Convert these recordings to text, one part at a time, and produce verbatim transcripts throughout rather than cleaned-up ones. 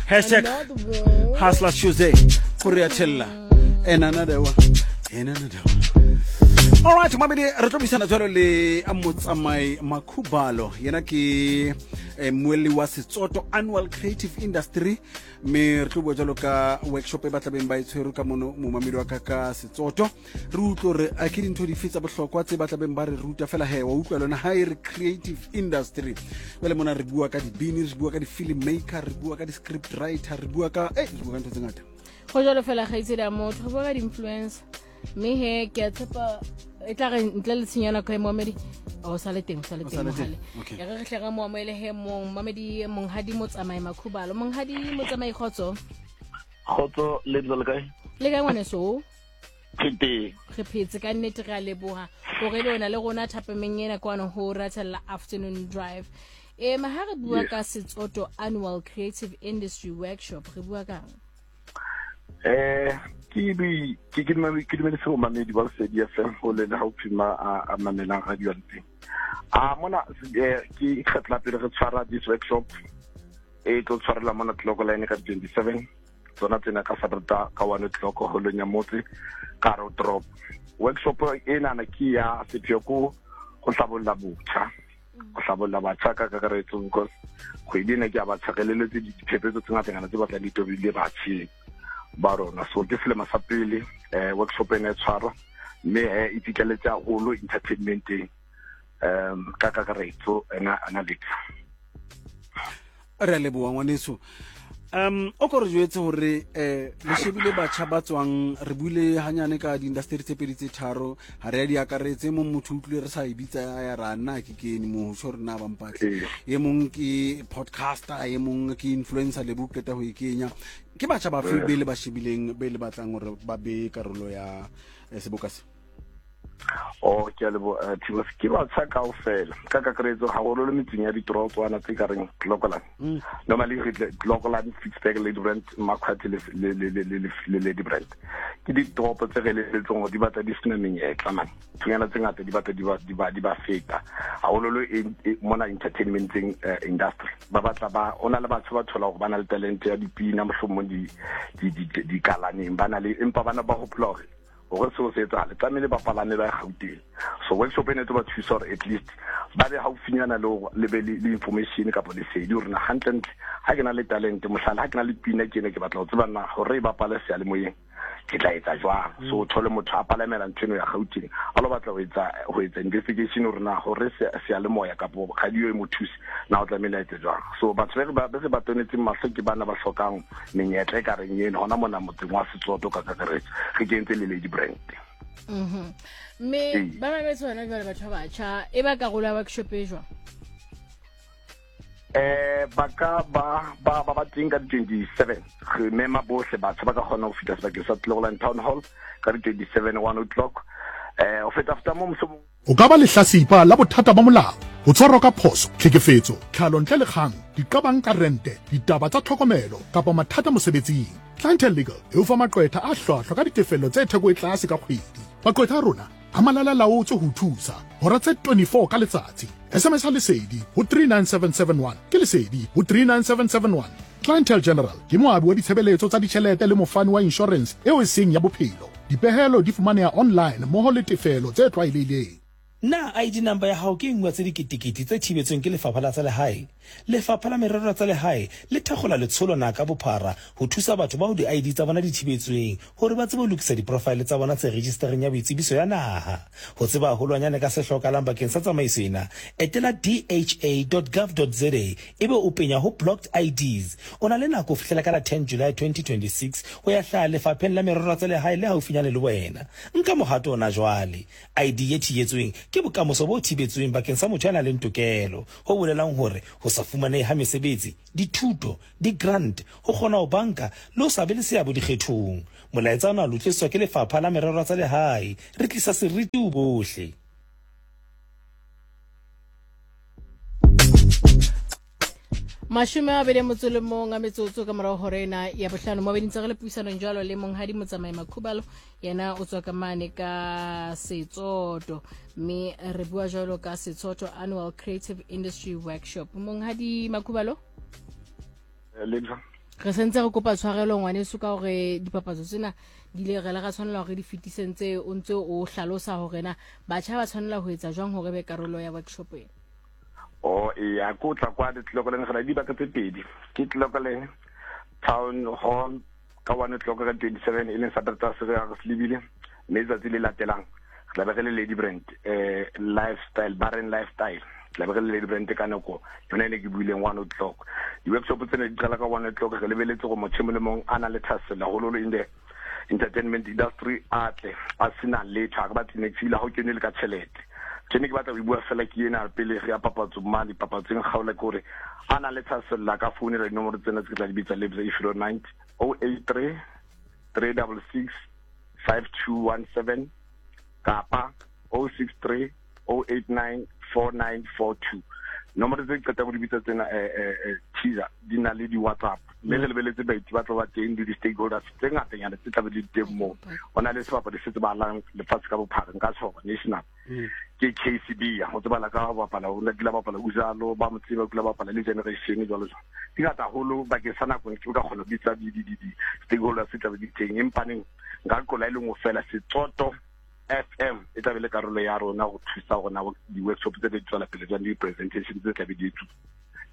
Hashtag Another one. Hustler Tuesday. Go re a thella. And another one. And another one. All right, mamedi re tlo buisana jwalo le Motsamai Makhubalo. Yena ke eh, mmuelli wa Setsoto Annual Creative Industry. Mme re tlo bua jwalo ka workshop e ba tlabeng ba e tshwere ka mono momamedi wa ka ka Setsoto. Re utlwe hore a ke dintho dife tsa bohlokwa tse ba tlabeng ba re ruta fela he wa utlwa lona ha e re creative industry. Jwale mona re bua ka dibini, re bua ka di-film maker, re bua ka di-script writer, re bua ka eh re bua ka ntho tse ngata. Go jalo fela kgaitsedi ya motho, re bua ka di-influencer. Mme he ke a tshepa e tla re ntle le tshenyo ya nako e moamedi o sa le teng, o sa le O teng sa le teng, mohale. okay. Ya re re hle re mo amohele he mong mamedi monghadi Motsamai Makhubalo. Monghadi Motsamai, kgotso. Kgotso, le ntse le kae? Le kae ngwaneso? Ke teng. Re phetse ka nnete, re a leboha hore ebe o na le rona thapameng ena kwano ho Ratella Afternoon Drive. E ma ha re bua Yes. ka Setsoto Annual Creative Industry Workshop, re bua kang? Eh, ke bi ke ke dumedi ke dumedise bo mamedi ba Lesedi F M ho le le haufi ma a a mamelang radio ya teng. A mona eh, ke kgetlo la pele re tshwara this workshop e tlo tshwarela mona Clocolan ka twenty-seven tsona tsena ka Satereta ka one o'clock holong ya motse ka hare ho toropo. Workshop enana ke ya sepheo ko go hlabolla botjha, go hlabolla batjha ka kakaretso, because kgwedi ena ke ya batjha, re leletse diphephetso tse ngatanyana tse batlang di tobile batjheng ba rona. So ke selemo sa pele eh, workshop ena e tshwarwa, mme eh, e fitlheletse haholo entertainmenteng um ka kakaretso ena analytics. Re a leboha ngwaneso. Um o ko re jwetse hore eh le shebile batjha ba tswang, re buile hanyane ka di-industry tse pedi tse tharo, ha re ya di akaretse. Mong motho utlwile re sa e bitsa ya ra nna ke kene moo ho tjho hore na ba mpatle. Ee. E mong ke podcaster, e mong ke influencer, le bo qeta ho e kenya. Ke batjha ba fe be le ba shebileng, be le batlang hore ba be karolo ya eh, seboka se? Oh, ke a leboha, eh, Thibos. Ke batjha kaofela ka kakaretso, haholo le metseng ya ditorotswana tse ka reng Clocolan. Mm. Normally re tle Clocolan, Ficksburg, Ladybrand, Makhwathe le le le le le le Ladybrand. Ke ditoropo tse re eletseng hore di batla di sena menyetla man. Thunyana tse ngata di batla di ba di ba di ba feta. Haholo e, e mona entertainmenteng, eh, industry. Ba batla ba ona le batho ba thola hore ba na le talent ya dipina, mohlomong di di di di kalaneng, ba na le, empa bana ba hopola hore hore seo se etsahale tlamehile ba palame ba ye Gauteng. So workshop ena e tlo ba thusa hore at least ba be haufinyana le hore le be le le information kapa lesedi hore na hantlentle ha ke na le talent, mohlala ha ke na le pina ke ene ke batla ho tseba na hore e bapale seyalemoyeng ke tla etsa jwang. So o thole motho a palamela ntho eno ya Gauteng a lo batla ho etsa ho etsa investigation hore na hore se-, seyalemoya kapa radio e mo thuse na o tlamehile a etse jwang. So batho be re ba, be re ba tonetseng mahlo ke bana ba hlokang menyetla e ka reng eno hona mona motseng wa Setsoto ka kakaretso, re kentse le Lady Brand. Mhm. Mme Ee. ba mametse hona jwale batho ba batjha e ba karolo ya workshop e jwang? Eh, ba ka ba, ba, ba ba teng ka di-twenty-seven. Re mema bohle batjha ba ka kgona ho fihla sebakeng sa Clocolan Town Hall ka di-twenty-seven, one o'clock. Eh, ho feta feta moo mohlomong O ka ba lehlasipa la bothata ba molao, ho tshwarwa ka phoso, tlhekefetso, tlhalo ntle le kgang, diqabang ka rente, ditaba tsa tlhokomelo kapa mathata mosebetsing. Clientele Legal e o fa maqwetha a hlwahlwa ka ditefello tse theko e tlase ka kgwedi. Maqwetha a rona a malala-laotswe ho thusa hora tse twenty-four ka letsatsi. S M S a Lesedi ho three nine seven seven one, ke Lesedi ho three nine seven seven one. Clientele General ke moabi wa ditshebeletso tsa ditjhelete le mofani wa insurance eo e seng ya bophelo. Dipehelo di fumaneha online mmoho le tefelo tse tlwaelehileng. Na I D number ya hao ke e nngwe tse diketekete tse thibetsweng ke Lefapha la tsa Lehae? Lefapha la Merero ya tsa Lehae le thakgola letsholo na ka bophara ho thusa batho bao di-I D tsa bona di thibetsweng hore ba tsebe ho lokisa diprofile tsa bona tse registereng ya boitsebiso ya naha. Ho tseba haholwanyane ka se hlokahalang bakeng sa tsamaiso ena, etela D H A dot gov dot Z A ebe o penya ho blocked I Ds. O na le nako ho fihlela ka la ten July twenty twenty-six ho ya hlaha Lefapheng la Merero ya tsa Lehae le haufinyane le wena. Nka mohato ona jwale. I D e thibetsweng ke bokamoso bo thibetsweng bakeng sa motho ya nang le tokelo, ho bolelang hore ho sa fumanehe ha mesebetsi, dithuto, di-grant, ho kgona ho banka le ho sa be le seabo dikgethong. Molaetsa ona o tliswa ke Lefapha la Merero ya tsa Lehae. Re tlisa seriti ho bohle. Mashome a mabedi a motso le mong a metsotso ka morao hora ena ya bohlano. Mo bedintse re le puisanong jwalo le monghadi Motsamai Makhubalo, yena o tswa ka mane ka Setsoto, mme re bua jwalo ka Setsoto Annual Creative Industry Workshop. Monghadi Makhubalo? Lebza Re sentse re kopa tshwarelo ngwaneso ka hore dipapatso tsena di ile re le ra tshwanela hore di fetise ntse o ntse o hlalosa hore na batjha ba tshwanela ho etsa jwang hore be karolo ya workshop ena. O e ya ko tla kwa Tlokoleng, re na le dibaka tse pedi, ke Tlokoleng Town Hall ka one o'clock ka twenty seven, e leng Saturday se re re se lebile, mme letsatsi le latelang re tla be re le Lady Brand, eh lifestyle Barren Lifestyle, tla be re le Lady Brand ka nako yona ene ke buileng one o'clock. Di-workshop tsena di qala ka one o'clock. Re lebeletse gore motho e mong le mong a na le thahasello haholoholo in the entertainment industry a tle, a sena letho, ha re batle niks, ebile ha o kene le ka tjhelete. Ke ne ke batla ho e bua fela ke ena pele re ya papatso mane papatsong kgaola, ke hore a na le thahasello a ka founela dinomoro tsena tse ke tla di bitsa, Lebza, if you don't mind: oh eight three three double six five two one seven kapa oh six three oh eight nine four nine four two. Nomoro tse ke qetang ho di bitsa tsena, eh, eh, eh, teaser di na le di-WhatsApp, mme re lebeletse baeti ba tlo ba teng le di-stakeholders tse ngatanyana tse tlabe di le teng moo. Ho na le sebapadi se tsebahalang lefatshe ka bophara, nka tjho hore national, ke K C B, ya ho tsebala ka ho bapala, o kile a bapala Uzalo, ba mo tseba, o kile a bapala le Generation jwalo jwalo. Di ngata haholo bakeng sa nako, ke ka kgona ho bitsa di, di, di, di-stakeholders tse tlabe di teng, empa neng nka qola e le nngwe fela, Setsoto F M e tlabe le karolo ya rona ho thusa hore na di-workshop tse di tswela pele jwang, di-presentation tse tlabe di etsuwa.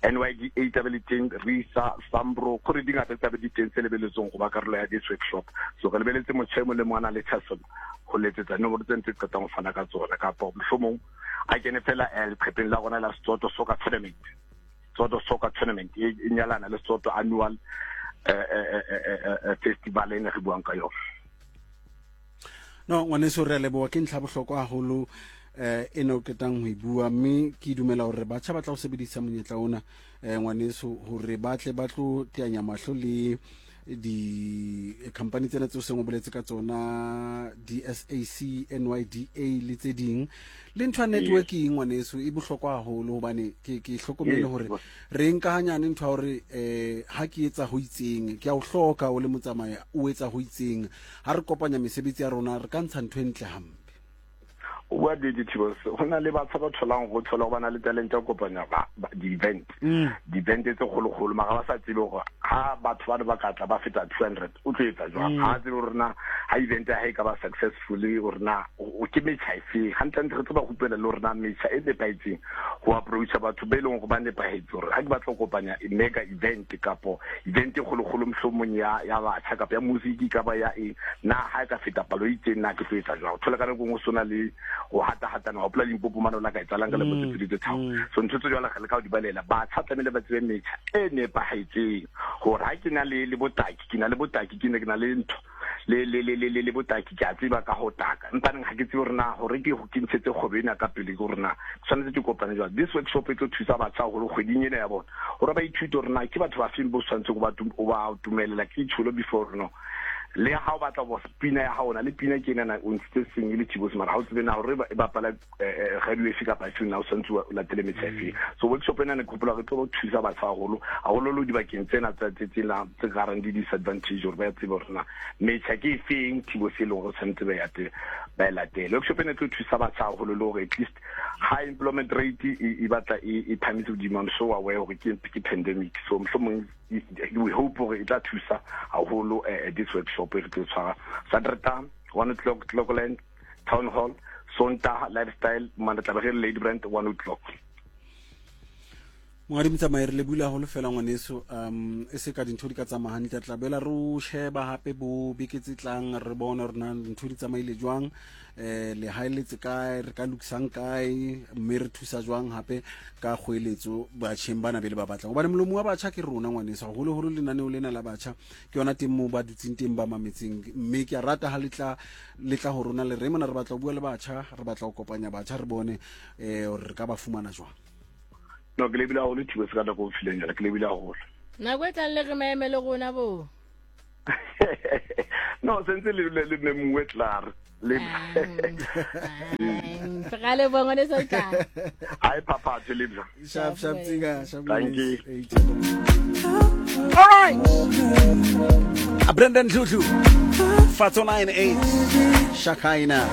N Y D A tlabe le teng, RISA, Sambro, kore di ngata tse tlabe di teng tse lebeletsweng ho ba karolo ya this workshop. So re lebeletse motho e mong le mong a nang le thahasello ho letsetsa nomoro tse ntse qetang ho fana ka tsona, kapa mohlomong a kene fela, eh, leqepheng la rona la Setsoto Soccer Tournament. Setsoto Soccer Tournament e, e nyalana le Setsoto Annual, eh, eh, eh, eh, eh, eh, Festival ena re buang ka yona. No, ngwaneso, re a leboha, ke ntlha bohlokwa haholo, eh, e ne o qetang ho e bua, mme ke dumela hore batjha ba tla ho sebedisa monyetla ona, eh, ngwaneso, hore ba tle ba tlo teanya mahlo le di-company tsena tseo seng o boletse ka tsona, D S A C, N Y D A le tse ding. Le ntho ya networking, ngwaneso, e bohlokwa haholo, hobane ke, ke hlokomele hore re nka hanyane ntho ya hore, eh, ha ke etsa ho itseng, ke a o hloka o le motsamaya, o etsa ho itseng, ha re kopanya mesebetsi ya rona re ka ntsha ntho e ntle hampe. O bua nnete, Thibos. Ho na le batho ba tholang ho thola ho ba na le talent ya ho kopanya ba, ba, di-event. Mm. Di-event tse kgolokgolo, mara ba sa tsebe hore ha batho bana ba ka tla ba feta two hundred, o tlo etsa jwang? Mm. Ha tsebe hore na ha event ya hae e ka ba successful, hore na o, o ke metjha efe. Hantlentle re tlo ba rupela le hore na metjha e nepahetseng ho approacha batho ba e leng hore ba nepahetse, hore ha ke batla ho kopanya mega event kapo event e kgolokgolo mohlomong ya, ya batjha kapa ya music kapa ya eng, na ha e ka feta palo e itseng na ke tlo etsa jwang? O thola ka nako e nngwe ho sona le ho hata-hatana, wa hopola Limpopo mane o la ka etsahalang ka lemo tse Mm, pedi tse tharo. mm. So ntho tse jwalo re leka ho di balela. Batjha tlamehile ba tsebe metjha e nepahetseng hore ha ke na le, le botaki, ke na le botaki, ke ne ke na le ntho, le, le, le, le, le, le botaki, ke a tseba ka ho taka. Empa neng ha ke tsebe hore na hore ke, ke ntshetse kgwebo ena ka pele, ke hore na ke tshwanetse ke kopane jwang. This workshop e tlo thusa batjha haholo kgweding ena ya bona, hore ba ithute hore na ke batho ba feng bo tshwanetseng ho ba tum-, ho ba dumelela ke itsholo before no. Le ha o batla ho pina ya hao, na le pina ke ena o ntshitse seng e le Thibos, mara ha o tsebe na hore e bapala, eh, eh, radio efe kapa efe, na o tshwanetse o latele metjha efe. So workshop ena ne ke hopola re tlo thusa batjha haholo, haholoholo dibakeng tsena tsa, tse, tsena tse ka reng di disadvantage, hore ba tsebe hore na metjha ke efeng Thibos e leng hore tshwanetse ba e ate-, ba e latele. Workshop ena e tlo thusa batjha haholo le hore at least high employment rate e, e batla e, e phahamise hodimo. I'm so aware hore ke, ke pandemic, so mohlomong we hope hore e tla thusa haholo, eh, this workshop e re tlo tshwara Saturday one o'clock Clocolan Town Hall, Sontaha Lifestyle, mane tla be re le Lady Brand one o'clock. Monghadi Motsamai, re lebohile haholo fela ngwaneso, um, e se ka dintho di ka tsamaya hantle, re tla boela re o sheba hape bo beke tse tlang, re bone hore na dintho di tsamaile jwang, eh, le haeletse kae, re ka lokisang kae, mme re thusa jwang hape ka kgoeletso batjheng bana be le ba batlang. Hobane molomo wa batjha ke rona ngwaneso, haholoholo lenaneo lena la batjha ke yona teng moo ba dutseng teng ba mametseng, mme ke a rata ha le tla, le tla ho rona le re mona re batla ho bua le batjha, re batla ho kopanya batjha, re bone, eh, hore re ka ba fumana jwang. No, ke lebile haholo Thibos ka nako o fileng yona, ke lebile haholo. Nako e tlang le re maeme le rona bo. No, sentse le, le, le memuwe klaar. Le Ra leboha ngwaneso tla. Ai phaphatse le bja. Sharp, sharp, tsiga, sharp. Thank you. All right. Brandon Tutu. Fatso nine eight. Shakaina.